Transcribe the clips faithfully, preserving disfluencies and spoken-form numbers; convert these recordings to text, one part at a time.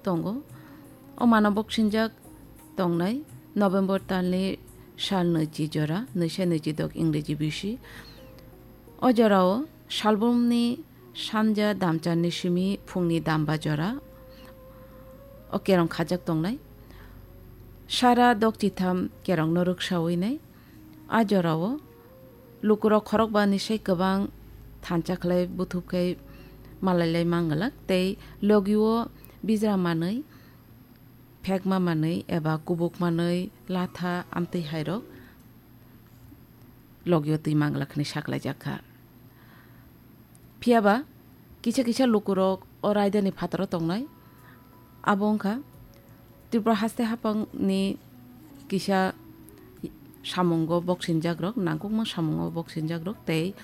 tongo. O mano boksinjak tongnai November talni sal nwichi jora, nwisa nwichi dok Ingreji bisi. O jorao salbumni sanja damcharni simi phungni damba jora o kerong khajak tongnai. Sara dok chitham kerongno rwksawi nai. A jorao lukurok khorokbani sai kwbang thansa khlai buthub khai malailai manglak tei logio bijra manwi, phekma manwi eba kubuk manwi latha amtwi hairok logio twi manglak hwnwi saklaijak kha. Phiyaba kisa kisa lukurok o raidani phataro tongnai. Abo wngkha Tripura haste haphangni kisa samungo boksinjakrok, nangkukma samungo boksinjakrok tei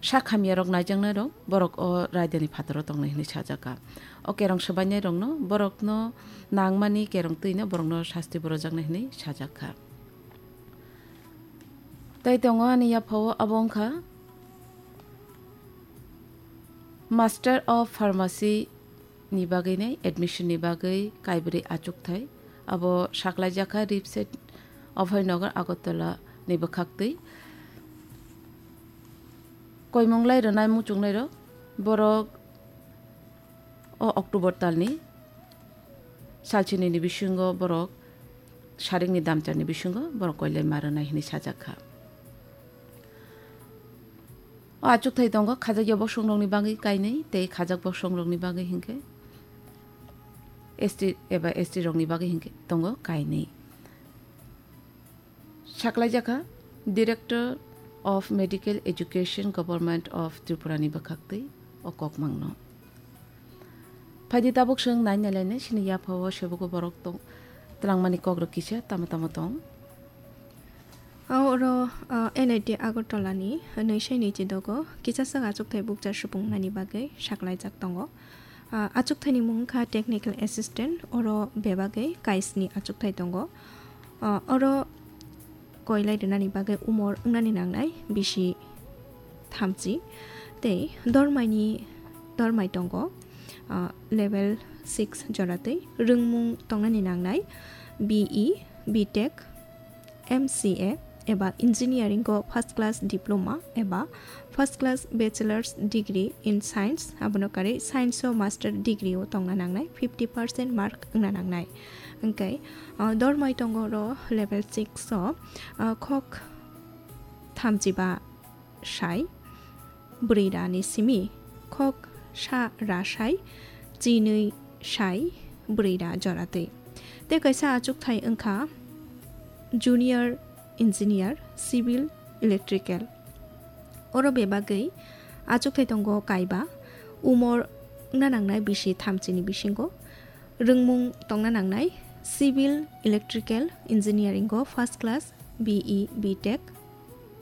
sak hamyarok naijaknairok borok o raidani phataro tongnai hwnwi sajakha. O kerong swbainairokno borokno nangmani kerong twino borokno sasti borojaknai hwnwi sajakha. Tei tongo ani yaphao abo wngkha Master of Pharmacy ni bagwi nai admission ni bagwi kaibrwi achukthai. Abo saklaijakha Ripset Abhaynagar Agartala ni bwkhaktwi. Koimunglai rwnai muchungnairok borok o October talni salchinini bisingo borok saringni damcharni bisingo borok koilai ma rwnai hwnwi sajak kha. O achukthai tongo khajakya bosongrokni bagwi kainwi tei khajak bosongrokni bagwi hinkhe S T eba S T rokni bagwi hinkhe tongo kainwi. Saklaijakha Director of Medical Education, Government of Tripura ni bwkhaktwi o kokmangno. Phaidi tabuk chwng nai nailainai chini yaphao sebogo borok tong twlangmani kokrok kisa tamo tamo tong. Oro, ah, N I T Agartala ni nwi sai nwi chi dogo kisa swk achukthai bukcha supung nani bagwi saklaijak tongo. Ah, achukthai ni mung wngkha Technical Assistant, oro bebagwi kaisni achukthai tongo. Ah, oro koilai rwnani bagwi umor wngnani nangnai bisi thamchi tei dormaini, dormai tongo, ah, level six joratwi rwngmung tongnani nangnai B E, B Tech, M C A eba engineering o first class diploma eba first class bachelor's degree in science, abono karwi science o master degree o tongna nangnai, fifty percent mark wngna nangnai. Hwnkhe, ah, dormai tongo oro level six o, ah, khok thamchiba sai, bwrwi ra ni simi khok sa ra sai, chinwi sai, bwrwi ra joratwi. Tei kaisa achukthai wngkha Junior Engineer, Civil Electrical. Oro bebagwi achukthai tongo kaiba, umor wngna nangnai bisi thamchini bisingo. Rwngmung tongna nangnai Civil Electrical Engineering o first class B E, B Tech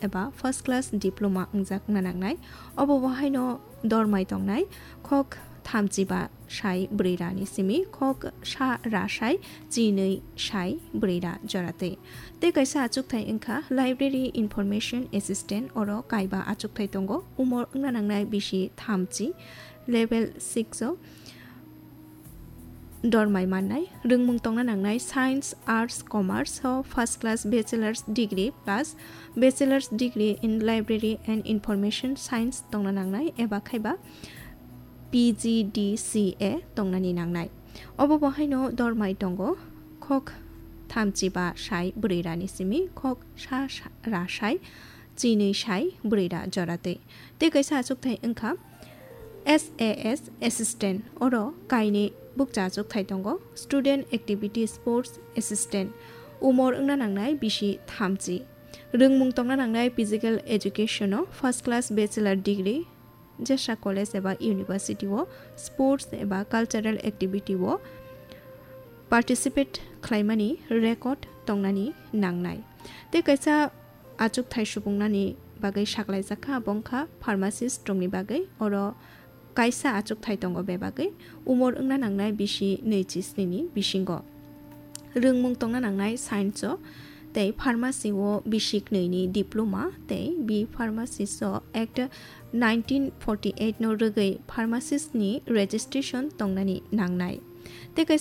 eba first class diploma wngjak wngna nangnai. Obo bo haino dormai tongnai khok thamchiba sai bwrwi ra ni simi khok sa ra sai chinwi sai bwrwi ra joratwi. Tei kaisa achukthai wngkha Library Information Assistant, oro kaiba achukthai tongo, umor wngna nangnai bisi thamchi, level six o dormai mannai, rwngmung tongna nangnai Science, Arts, Commerce o first class bachelor's degree plus bachelor's degree in Library and Information Science tongna nangnai eba khaiba P G D C A tongnani nangnai. Obo bo haino dormai tongo khok thamchiba sai bwrwi ra ni simi khok sa sa ra sai chinwi sai bwrwi ra joratwi. Tei kaisa achukthai wngkha S A S Assistant, oro kainwi bukcha achukthai tongo, Student Activity Sports Assistant, umor wngna nangnai bisi thamchi. Rwngmung tongna nangnai Physical Education o first class bachelor degree, jesa college eba university o sports eba cultural activity o participate khlaimani record tongnani nangnai. Tei kaisa achukthai supungnani bagwi saklaijak kha, abo wngkha pharmacist rokni bagwi. Oro kaisa achukthai tongo bebagwi, umor wngna nangnai bisi nwi chi sni ni bisingo. Rwngmung tongna nangnai science o tei pharmacy o bisi knwi ni diploma tei B Pharmacist o Act nineteen forty eight no rwgwi pharmacist ni registration tongnani nangnai. Tei kaisa